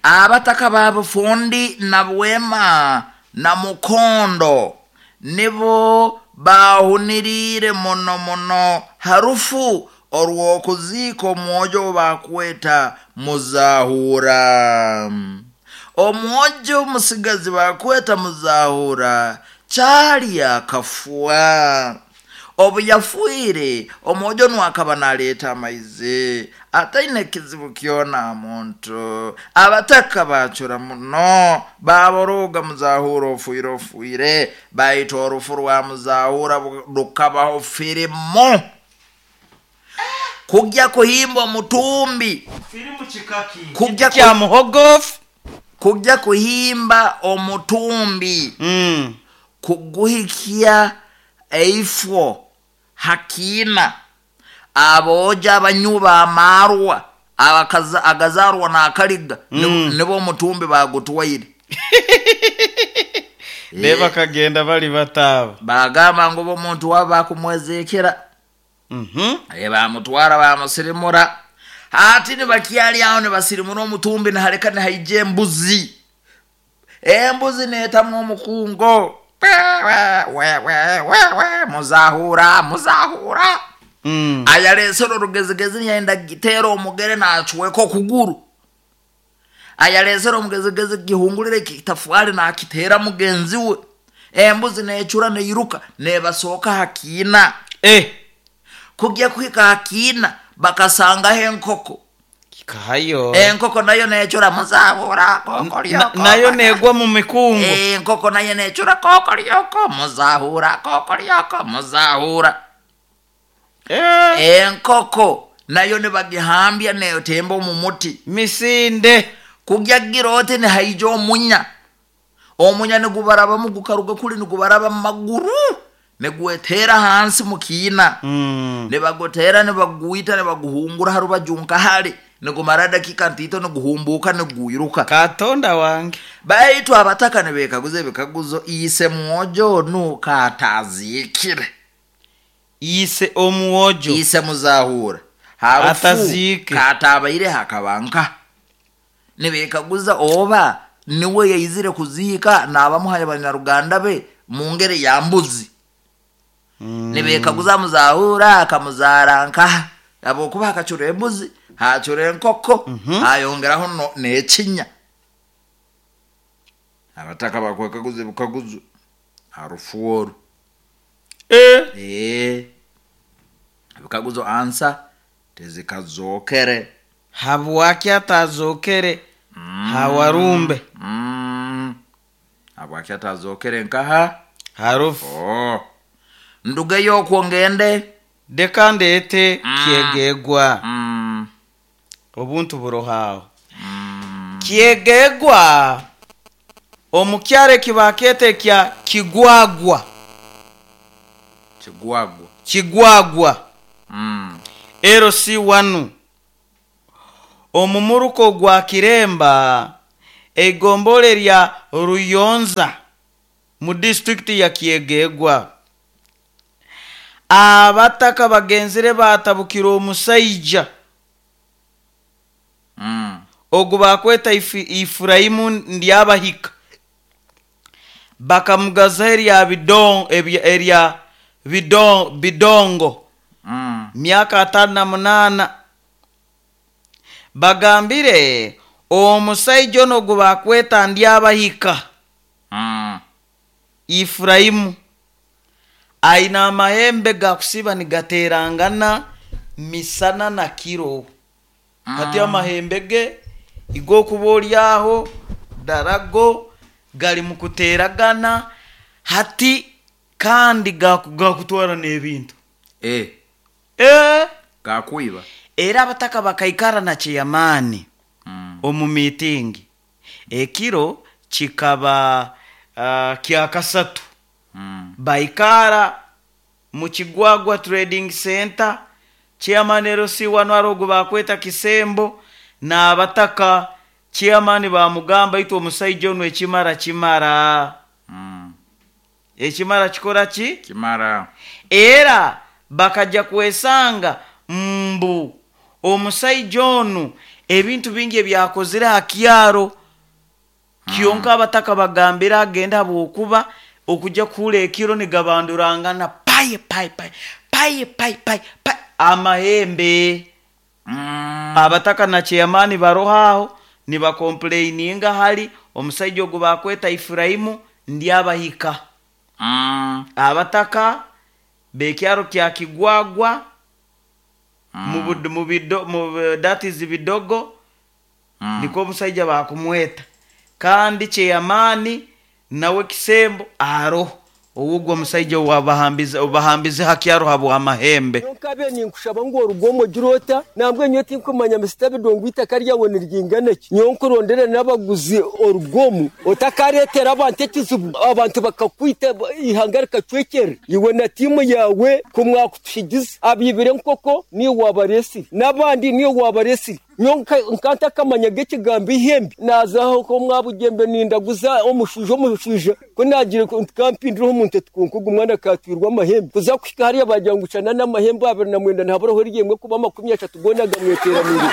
Abataka ba bufundi na bwema na mukondo nibo bahunirire muno muno harufu orw'okuziika omwojo bakweta muzahura. Omwojo omusigazi bakweta muzahura kyali akafwa. Obu yafuire omwojo nwakaba naleeta amaizi ataine kizibu kyona muntu. Abataka bacura muno baboroga muzahura ofuire ofuire baita orufu rwa muzahura rukabaho firimu. Kujya kuhimba omutumbi. Firimu kikaki? Kujya Kya muhogofu. Kujya kuhimba omutumbi. Mm. Kuguhikia eifo hakina aboja abanyuba amarwa abakaza agazarwa na akaliga mm. Nibo omutumbi bagutwaire. Beba kagenda bali bataba bagamba ngo omuntu waba kumwezekera. Mhm. E bamutwara bamusirimura. Ati ni bakyali aho ne basirimura omutumbi na hareka ne haije embuzi. Embuzi netamwe omukungo. We we we we we muzahura muzahura. Mm. Ayalesero rugezigezi yaenda gitero omugere na achweko kuguru. Ayalesero omugezigezi gihungulire kitafwali na akitera mugenzi we. Embuzi nechura neiruka nebasoka hakina. Eh. Kujya kuhika hakina bakasanga enkoko. Kikayo. Enkoko nayo nechura muzahura kokoryoko. Na, nayo negwa mu mikungu. Enkoko nayo nechura kokoryoko muzahura kokoryoko muzahura. Eh. Enkoko nayo nibagihambya neyotemba mu muti. Misinde. Kujya girote ne haijo omunya. Omunya nigubaraba mu gukaruga kuli nigubaraba mu maguru. Negwetera hansi mukina. Mm. Nebagotera nebaguita nebaguhungura harubajunka hali. Negumara dakika ntito neguhumbuka neguiruka. Katonda wange. Baitu abataka nebekaguze bekaguzo ise mwojo nuka atazikire. Ise omuojo. Ise muzahura. Harufu atazike. Katabaire hakabanka. Nebekaguza oba niwe yaizire kuzika nabamuhaye abanyaruganda be mu ngeri ya mbuzi. Mm. Nebekaguza muzahura akamuzaranka abokuba akacura embuzi hacura enkoko mm -hmm. Ayongeraho no nekinya. Abataka bakwekaguze bukaguzo harufu oru. Eh. Eh. Bukaguzo ansa tezikazokere. Habwaki atazokere? Mm. Hawarumbe. Mm. Habwaki atazokere nkaha Harufu. Oh. Ndugeyo okwo ngende. Deka ndete Mm. Kyegegwa. Mm. Obuntu burohaho. Mm. Kyegegwa omukyare kibakete kya Kigwagwa. Kigwagwa. Kigwagwa. Mm. L C one. Omumuruko gwa Kiremba egombole lya Ruyonza mu district ya Kyegegwa. Abataka bagenzire batabukira omusaija. Mm. Ogu bakweta Ifurahimu ndyabahika. Bakamugaza erya bidon, erya bidon, bidongo. Mm. Myaka atano na munana. Bagambire omusaija ono ogu bakweta ndyabahika. Mm. Ifurahimu aina amahembe gakusiba nigaterangana misana na kiro. Mm. Hati amahembe ge igokuba oryaho darago gali mukuteragana hati kandi gakutwara n'ebintu. Eh. Eh. Gakuiba. Era abataka bakaikara na chiyamani. Mm. Omu meeting. Ekiro kikaba uh, kyakasatu. Mm. Baikara mu Kigwagwa Trading Center, chairman L C one arogo bakweta Kisembo na abataka chairman bamugamba itwe omusaija ono ekimara kimara. Mm. Ekimara kikora ki? Kimara. Era bakaja kwesanga mbu omusaija ono ebintu bingi ebyakozire ha kyaro. Kyonka abataka bagambira agenda bwokuba okujja kuhula ekiro nigabandurangana paye paye paye paye paye paye paye amahembe. Mm. Abataka na chairman barohaho nibakomplaininga hali omusaija ogu bakweta Ifurahimu ndyabahika. Mm. Abataka bekyaro kya Kigwagwa Mm. mu bido mu that is bidogo. Mm. Niko omusaija bakumweta kandi chairman nawe Kisembo aro owugwo omusaija wabahambiza obahambize hakyaro habo amahembe. Nkabe ninkushaba ngo orugomo girota nambwe nyo tinkumanya misitabe dongwita karya wone ryingana ki nyonkurondera nabaguzi orugomo otakaretera abantu ekizibu abantu bakakwita ihangarika cwekere iwe na timu yawe kumwakutushigiza abibire nkoko ni wabaresi nabandi ni wabaresi nyonka nkanta kamanya gekigambo ihembe nazaho ko mwabugembe nindaguza omushujo omushujo ko nagire kampindiro omuntu tukunkugu mwana katwirwa amahembe kuza kushika hariya bagira ngucana n'amahembe abiri na mwenda ntaburaho ryemwe kuba makumi ashatu gonaga mweteranire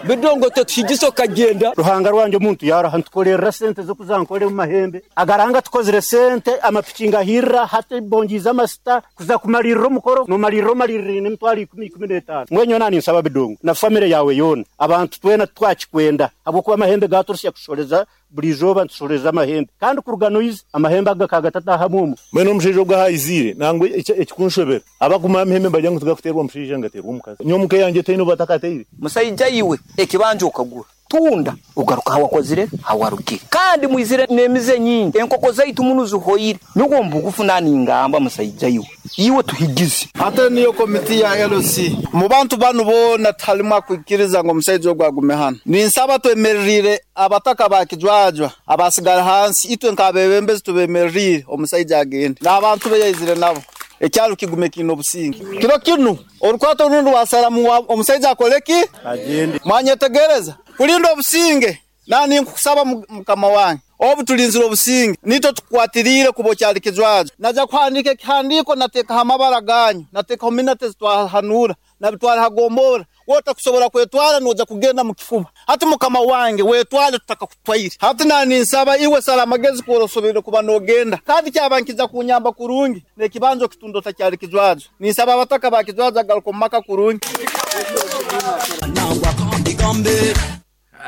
bidongo tetushigiso kagenda Ruhanga rwanje omuntu yaraha ntukorera sente zo kuzankore mu mahembe agaranga tukozire sente amapikinga hirra hate bongiza amasita kuza kumalirira omukoro nomalirira omalirira nemitwaro ikumi ikumi n'etaano mwenyo nani nsaba bidongo na famire yawe yona abantu twena twakikwenda habwokuba amahembe gaturusya kushoreza buri izoba ntushoreza amahembe kandi kuruga noizi amahembe aga kagatatahamu omu mwene omushaija ogu ahaizire nangwe ekikunshobera abaguma amahembe mbagira ngu tugakuteerwa omushaija ngateerwa omukazi nyowe omuka yange teine obu batakateire Musaija iwe ekibanja okagura tunda ugaruka hawakozire hawarugire kandi mwizire n'emize nyingi enkoko zaitu muno zihoyire nigwo mbugufu nani ngamba musaija iwe iwe tuhigize Ate niyo komiti ya L C mu bantu banu bona talimu kwikiriza ngo omusaiza ogwo agume hano ninsaba twemererire abataka bakijwajwa abasigara hansi itwe nk'abebembezi tubemererire omusaija agende n'abantu be yaizire nabo ekyalo kigume kino obusinge kiro kinu orukwato rundi wasaramu omusaija akoleki agende mwanyetegereza kulinda obusinge nani nkusaba mukama wange obu tulinzira obusinge nito tukwatirire kubo kyali kijwajo naja kuhandika ekihandiko natekaho amabara ganyu natekaho minate zitwahanura nabitwara hagombora wota kusobora kwetwara noja kugenda mu kifuba hati mukama wange wetwale tutakakutwaire hati nani nsaba iwe sala amagezi kuorosobere kuba nogenda kandi kyabankiza kunyamba kurungi nekibanzo kitundo takyali kijwajo ninsaba abataka bakijwajo agaruka mu maka kurungi.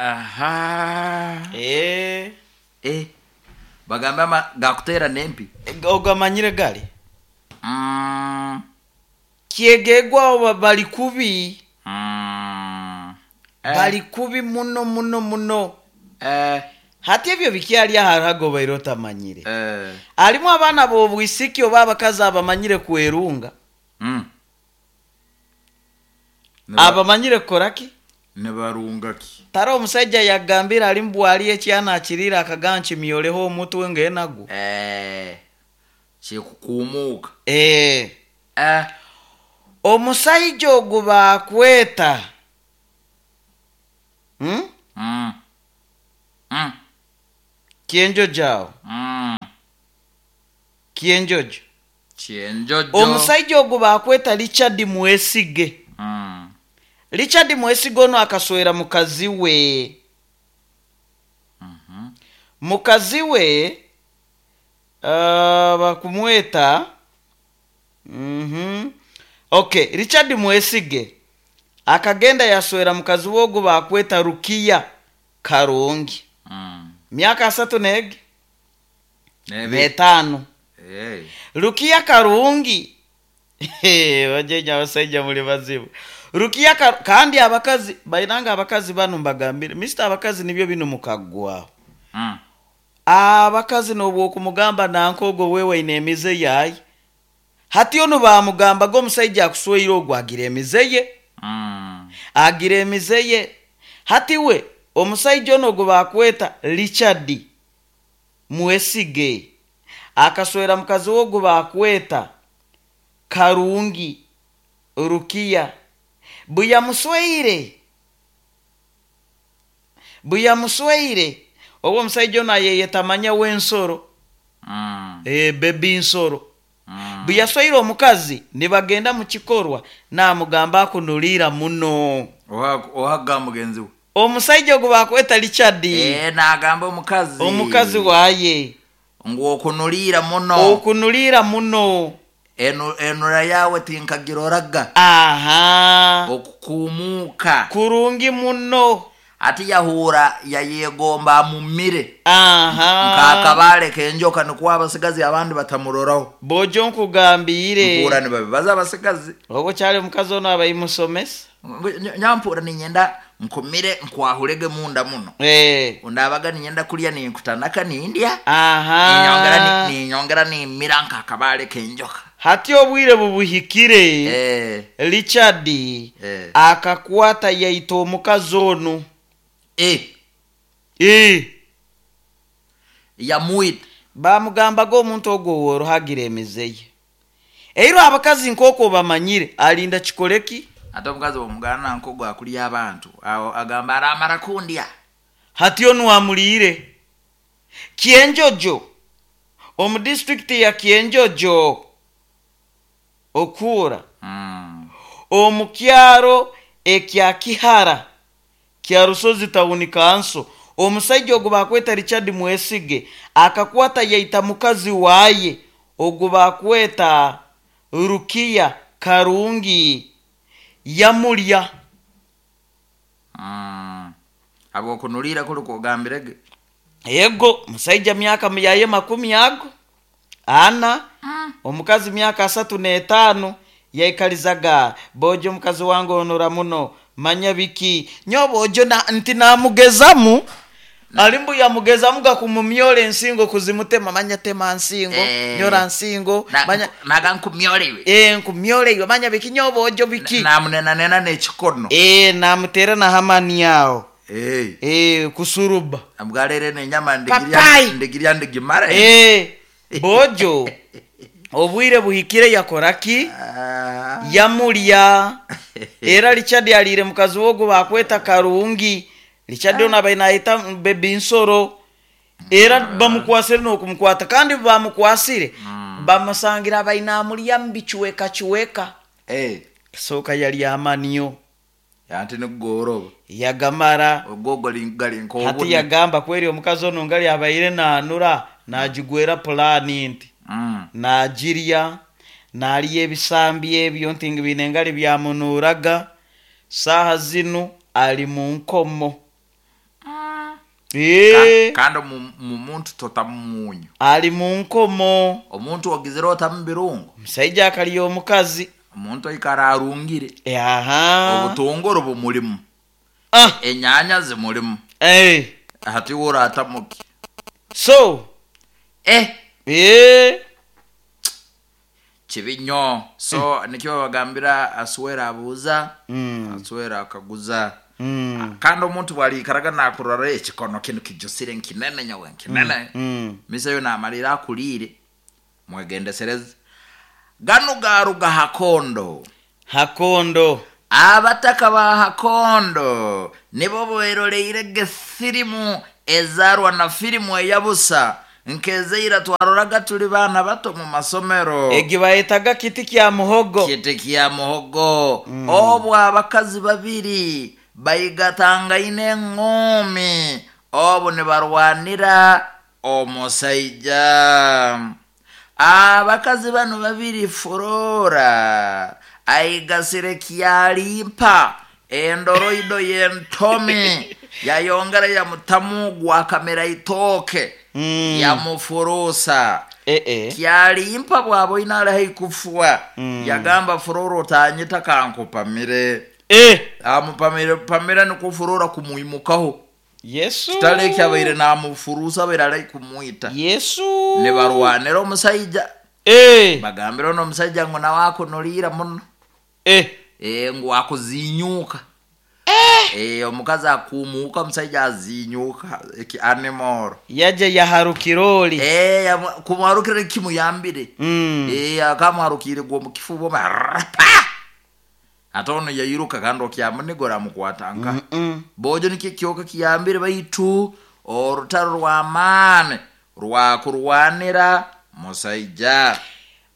Aha. Eh. Eh. Bagamba ama gakutera nempi. Ogamanyire gali. Mm. Kyegegwa bali kubi. Mm. Eh. Bali kubi muno muno muno. Eh. Hati ebyo bikyali aharago baire otamanyire. Eh. Alimu abaana b'obwisiki oba abakazi abamanyire kwerunga. Mm. Abamanyire kukoraki? Nibarunga ki? Tara omusajja yagambira ali mbwali ekyana akirira akaganchi myoleho omutwe ngenago. Eh. Kikukumuka. Eh. Eh. Omusajja ogwo bakweta. Hmm? Mm. Mm. Kienjojo awo. Mm. Kienjojo. Kienjojo. Omusajja ogwo bakweta Richard Mwesige. Mm. Richard Mwesige ono akaswera mukazi we. Mm -hmm. Mukazi we uh, bakumweta. Mhm. Okay, Richard Mwesige akagenda yaswera mukazi we ogwo bakweta Rukiya Karungi. Mm. Myaka asatu neg n'etaano. Hey. Rukiya Karungi bajenya abasajja muli bazibu. Rukiya Kar kandi abakazi bainanga abakazi bano mbagambire Mister abakazi nibyo bino mukaggwaho. Mm. Abakazi n'obwokumugamba nankogo wewe ine emize yayi. Hati ono bamugamba go omusajja akusweire ogwo agira emize ye. Mm. Agira emize ye. Hati we omusajja ono gwe bakweta Richard Mwesige akaswera mukazi we gwe bakweta Karungi Rukiya. Bwe yamusweire obwo omusajja ono ayeyetamanya w'ensoro. Mm. E, bebi nsoro. Mm. Bwe yasweire omukazi ne bagenda mu kikorwa n'amugamba akunulira muno. Ohaga mugenzi we. Omusajja gwe bakweta Richard. Eh, n'agamba omukazi. Omukazi waye. Ngu okunulira muno. Okunulira muno. Enu enura yawe tinkagiroraga. Aha. Okukumuka. Kurungi muno. Ati yahura yayegomba mumire. Aha. Nkakabale kenjoka nikuwa abasigazi abandi batamuroraho. Bojo nkugambire. Mpura ni babibaza abasigazi. Obo kyali omukazi ono abayimusomesa. Nyampura ninyenda nkumire nkwahulege munda muno. Eh. Undabaga ninyenda kulya ninkutanaka nindya. Aha. Ninyongera ninyongera nimira nkakabale kenjoka. Hati obwire bubuhikire. Eh. Richard eh. Akakwata yaita omukazi ono. Eh. Eh. Yamuita. Bamugambaga omuntu ogwo worohagira emize ye. Eiro abakazi nkoko bamanyire alinda kikoleki. Ate omukazi omugana nkogo akulya abantu awo agamba aramara kundya. Hati ono amulire. Kienjojo. Omu district ya Kienjojo. Okura. Mm. Omukyaro ekya Kihara. Kya Rusozi Town Council. Omusajja ogwo bakweta Richard Mwesige akakwata yaita mukazi waye ogwo bakweta Rukiya Karungi yamulya. Mm. Abo kunulira kuli kugambirege. Yego musajja myaka yaye makumi ago ana. Mm. Omukazi myaka asatu n'etaano yaikalizaga bojo mukazi wange onora muno manya biki nyobo ojo na nti namugezamu alimbu yamugezamu gakumumyole ensingo kuzimutema manya tema nsingo eh, nyora nsingo na, manya naga nkumyolewe eh nkumyolewe manya biki nyobo ojo biki namunena nena n'ekikono eh namutera na hamani yao eh eh kusuruba amgalere nenyama ndigirya ndigirya ndigimara eh bojo obwire buhikire yakoraki ah. Yamulya. Era Richard alire mukazi wogo bakweta Karungi. Richard ono abainaita bebi nsoro. Era bamukwasire n'okumukwata kandi bamukwasire mm. Bamusangira abainamulya mbichweka chweka. Eh. Soka yali amaniyo. Ante nigoroba. Yagamara. Ogogo lingali nko. Hati yagamba kweri omukazi ono ngali abaire nanura najigwera plani nti. Mm. Najirya naliye ebisambi ebyo nti binengali byamunuraga saha zinu ali mu nkomo. Mm. Eh. Kandi mu muntu totamunyo. Ali mu nkomo. Omuntu ogizira otamubirungo. Musajja akaliyo omukazi. Omuntu aikara arungire. Aha. Obutongoro bumulimu. Ah. Enyanya zimulimu. Eh. Hati uratamuki So eh eh kibi nnyo. So nikyo bagambira aswera abuuza, mm. aswera akaguza. Mm. Kandi omuntu bwaliikaraga nakurora ekikono kinu kijusire nkinene nyowe nkinene, Mm. miseyo namalira akuliire, mwegendesereze. Ganu garuga Hakondo. Hakondo. Abataka ba Hakondo nibo beroleire gefirimu ezarwa na firimu eyabusa nkezeira twaroraga tuli bana bato mu masomero. Egi bayetaga kiti kya muhogo. Kiti kya muhogo. mm. Obwo abakazi babiri baigatangaine engumi, obu nibarwanira omusaija. Abakazi bano babiri, Furora aigasire kyalimpa endoroido yentomi yayongera yamutamu gwakamera itooke, Mm. yamufurusa. Eh eh. Kyalimpa bwabo inalahi kufua, Mm. yagamba Furora otanyita kankupamire. Eh. Amupamire pamira nikufurora kumuimukaho. Yesu. Kitale kyabaire namufurusa abaire kumuita. Yesu. Nibarwanira omusaija. Eh. Bagambira ono omusaija ngu nawe akunuriira muno. Eh. Eh, ngu akuzinyuka. Eh. Eh, omukazi akumuuka, omusaija azinyuka eki animal. Yaje yaharukiroli. Eh, yamu- kumuharukira kimuyambire. Mm. Eh, akamuharukire gwo mukifubo pa. Ate ono yayiruka kandi okyamunigora amukwata nka. Mm -mm. Bojo nikyo kyoka kiyambire, baitu orutaro rw'amaani rwakurwanira musaija.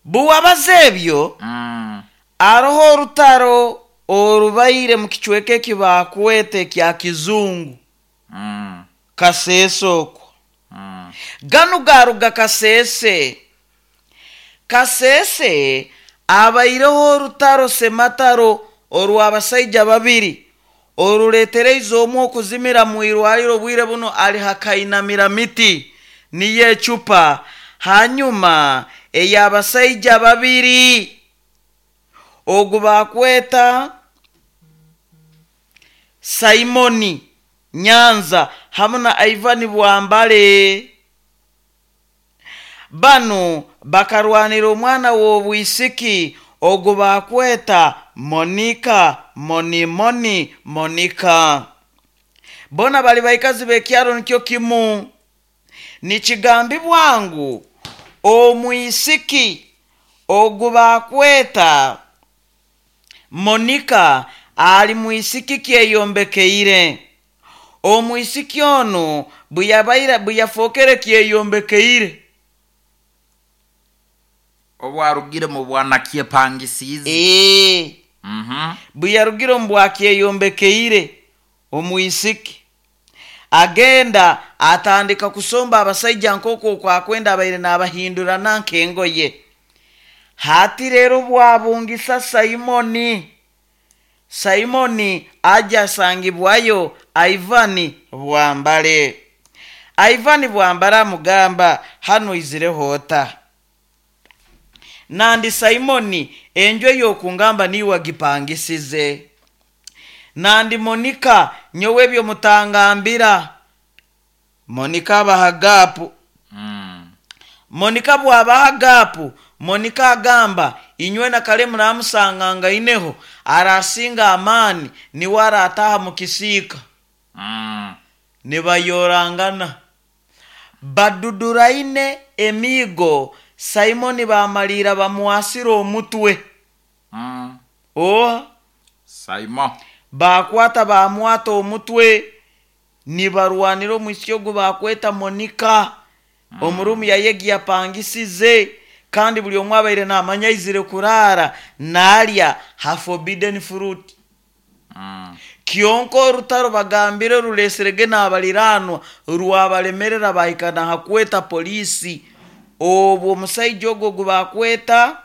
Buwabaza ebyo, Mm. aroho orutaro orubaire mu kicweka eki bakwete kya kizungu. Mm. Kasese okwo. Mm. Ganu garuga Kasese. Kasese abaireho orutaro semataro orw'abasaija babiri oruletereize omwe okuzimira mu irwariro, bwire buno ali hakainamira miti niyo ecupa. Hanyuma ey'abasaija babiri ogu bakweta Simoni Nyanza hamu na Ivan Bwambale. Bano bakarwanira omwana w'obwisiki ogu bakweta Monica Monimoni Monica. Bona bali baikazi b'ekyaro nikyo kimu. Nikigambibwa ngu omwisiki ogu bakweta Monica ali mwisiki kyeyombekeire. Omwisiki ono bweyabaira bweyafookere kyeyombekeire, obwarugire mu bwana kyepangisize. Eh. Mhm. Bweyarugire omu bwakyeyombekeire, omwisiki agenda atandika kusomba abasaija nk'okwo okwakwenda abaire n'abahindurana nk'engoye. Hati rero bwabungisa Simoni. Simoni aja asangibwayo Ivan Bwambale. Ivan Bwambale amugamba hano izireho ota. Nandi Simoni enju ey'okungamba niwe agipangisize. Nandi Monica nyowe ebyo mutangambira. Monica abaha gapu. Mm. Monica bw'abaha gapu, Monica agamba inywe na kale muramusanganga ineho arasinga amaani niwe arataha mu kisiika. Mm. Nibayorangana baduduraine emiigo. Simoni bamalira bamuwasira omutwe. Mm. Oha. Simon bakwata bamwata omutwe nibarwanira omwisiki ogu bakweta Monica. Mm. Omurumu yayegi yapangisize, kandi buli omwe abaire namanya aizire kurara nalya ha forbidden fruit. Mm. Kyonka orutaro bagambire ruleserege n'abaliranwa rwabalemerera bahikana hakweta polisi. Obwo omusaija ogwo ogu bakweta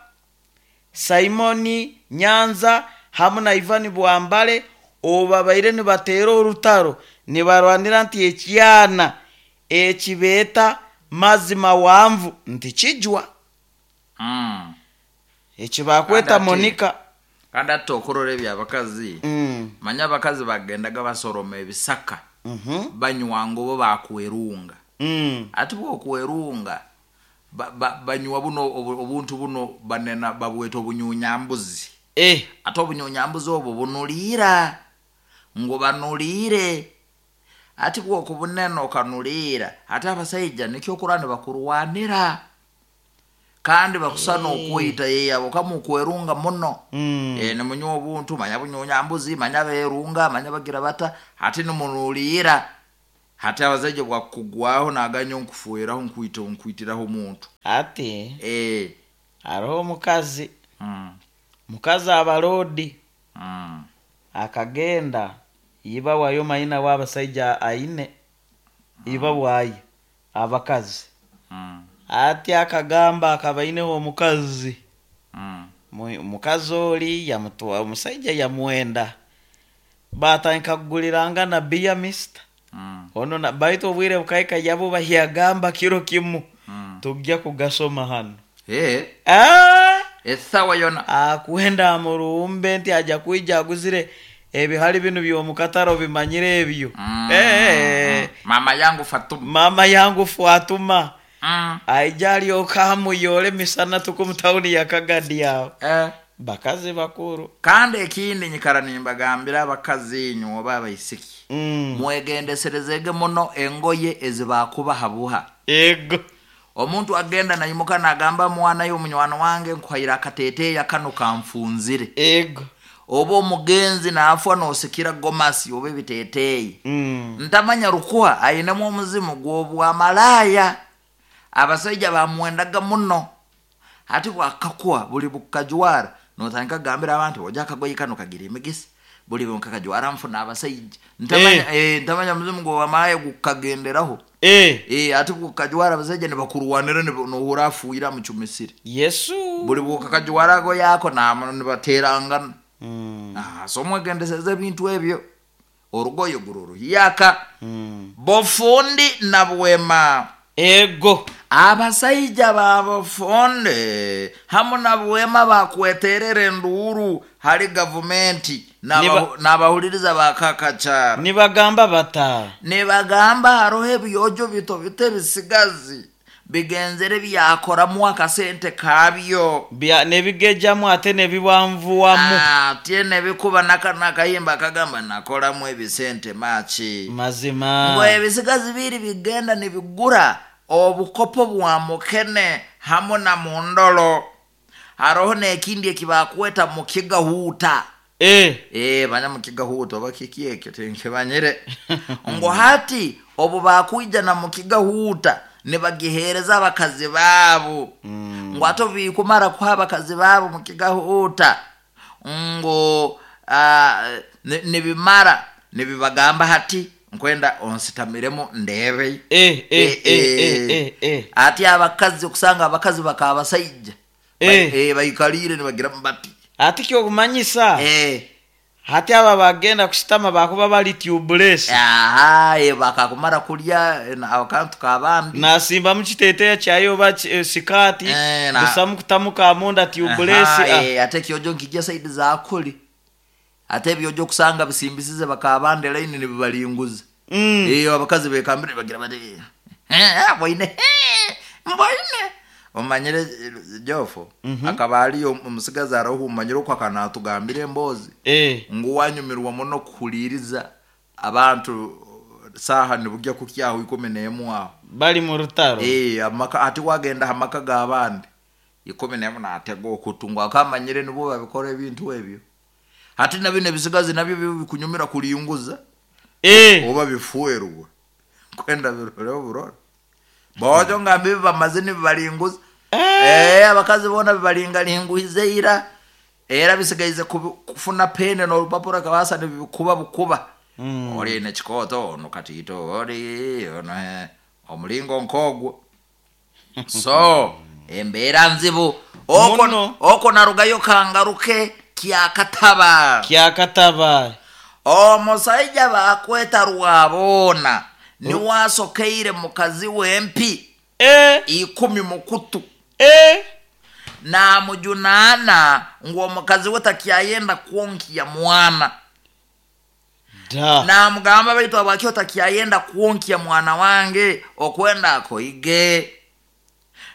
Simoni Nyanza hamu na Ivan Bwambale obu babaire nibateera orutaro nibarwanira nti ekyana ekibeeta mazima wanvu nti kijwa. Mm. Ekibakweta Kandi ati- Monica. Kandi ate okurora ebyabakazi, Mm. manya abakazi bagendaga basoroma ebisaka. Banywa ngo bo bakwerunga. Mm. Ati bwokwerunga ba, ba, banywa buno obu- obuntu buno banena babweta obunyunyambuzi. Eh. Ate obunyunyambuzi obwo bunuliira, ngo banuliire. Ati bwokubunena okanuliira, ate abasaija nikyo okura nibakurwanira kandi bakusana okwita yeyabo kama okwerunga muno. Mm. E, nimunywa obuntu manya bunyunyambuzi manya berunga manya bagira bata, ate nimunuliira. Hati abasaija bwakugwaho naganya nkufueraho nkwita nkwitiraho omuntu. Ati eh hariho omukazi. Mm. Mukazi abalodi. Mm. Akagenda iba wayo mayina w'abasaija aine iba wayo abakazi. Mm. Ati akagamba akabaineho omukazi. Mm. Mu- mukazi oli yamutwa omusaija yamwenda, batandika kuguliranga na biya mister. Mm. Ono na baitu obwire bukaika yabo bahyagamba kiro kimu. Mm. Tujja kugasoma hano. Eh. Ah! Esawa yona akwenda amurumbe nti aja kwija aguzire ebihali bino by'omukataro bimanyire ebyo. Mm. Eh. Mama yangu Fatuma. Mama yangu Fatuma. Mm. Aija alyoka amuyole misana tuku mu tawuni ya Kagadi awo. Eh. Bakazi bakuru. Kandi ekindi nyikara nimbagambira abakazi inywe oba abaisiki. Mm. Mwegendeserezege muno engoye ezibakubaha buha. Ego. Omuntu agenda nayimuka nagamba mwana yo munywano wange nkuhaira akateteya kano kanfunzire. Ego. Oba omugenzi naafwa nosikira gomasi oba ebiteteyi. Mm. Ntamanya rukuha ayinemu omuzimu gw'obwamalaaya. Abasajja bamwendaga muno. Ati bwakakuha buli bukajwara notandika kugambira abantu oja akagoye kano kagira emigisa, buli bukakajwara nfuna abasajja. Ntamanya, Eh. eh, ntamanya muzimu gw'obwamalaaya gukagenderaho. Eh. Eh, ati bukajwara abasajja nibakurwanira nohura afuira mucumisire. Yesu. Buli bukakajwara ago yako namo nibaterangana. Mm. Ah, so mwegendeseze ebintu ebyo. Orugoye gururuhiyaka. Mm. Bofundi na bwema. Ego. Abasaija ba bufundi hamu na bwema bakweterera enduuru hali gavumenti Niba- n'abahuliriza bakakakyaro. Nibagamba bata. Nibagamba hariho ebyojo bito bito ebisigazi bigenzere byakoramu akasente kabyo. Bya nebigejamu ate nebiwanvuwamu. Ate nebikuba nakayimba akagamba nakolamu ebisente maki. Mazima. Ngo ebisigazi biri bigenda nibigura obukopo bwa mukene hamu na mundolo. Haroho n'ekindi ekibakweta mukigahuuta. Eh. Eh, banya mukigahuuta oba kiki ekyo tinkibanyire. Ngo hati obu bakwija na mukigahuuta nibagihereza abakazi baabo. Mm. Ngo ate bikumara kuha abakazi baabo mukigahuuta ngo uh, nibimara nibibagamba hati nkwenda onsitamiremu ndebe. Eh, eh, eh, eh, eh, eh. Ati abakazi okusanga abakazi bakabasaija. Eh. Ba, eh, bayikalire nibagira bati. Ati kyokumanyisa. Eh. Hati aba bagenda kusitama bakuba bali tubeless. Aha, eh, bakakumara kulya akantu kabandi. Nasimba mukiteteya kyayo ba eh, sikati. Eh, na- Busamu kutamuka amunda tubeless. Aha, eh, ate kyojo nkijja side za kuli. Ate ebyojo kusanga bisimbisize bakabande line nibibalinguza. Mm. Eh, abakazi bekambire bagira bati eh, boine. Eh, mboine. Omanyire eh, Jofo Mm -hmm. akaba ali omusigazi araho umanyire okwo akanatugambira embozi. Eh. Ngu wanyumirwa muno kuhuliriza abantu saha nibujya kukyaho ikumi n'emu aho. Bali mu rutaro. Eh, amaka ati wagenda amaka g'abandi ikumi n'emu natega okutungwa akamanyire nibo babikora ebintu ebyo. Hati na bino ebisigazi nabyo bikunyumira kulinguza. Eh. Oba bifuerwa. Kwenda birore burore. Bojo ngambi bamaze nibalinguza. Eh. Eh, abakazi bona bibalingalinguize ira. Era bisigaize kufuna pene n'olupapura kabasa nibikuba bukuba. Mm. Oli ne kikoto ono katito oli ono eh, omulingo nkogwo. So embeera nzibu. Oko Muno. oko narugayo kangaruke kyakataba. Kyakataba. Omusajja bakweta rwabona niwasokeire mukazi w'empi Eh. ikumi mukutu. Eh. Namujunaana ngu omukazi we takyayenda kwonkiya mwana. Da. Namugamba, baitu abwaki otakyayenda kwonkya mwana wange okwenda akoige?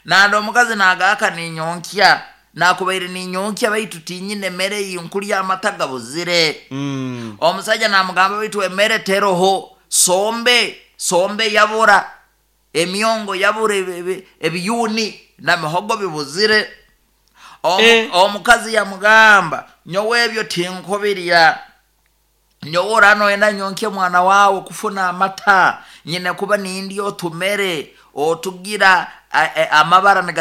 Nandi omukazi nagaka, ninyonkya, nakubaire ninyonkya, baitu tinyine mere yinkulya, amata gabuzire. Mm. Omusajja namugamba, baitu emere teroho, sombe sombe yabura, emyongo yabura, ebi- ebi- ebiyuni namihogo bibuzire. Omu- Eh. Omukazi yamugamba, nyowe ebyo tinkubirya, nyowe oranoenda nyonkye mwana wawe kufuna amata, nyine kuba nindi otumere otugira a- a- amabara.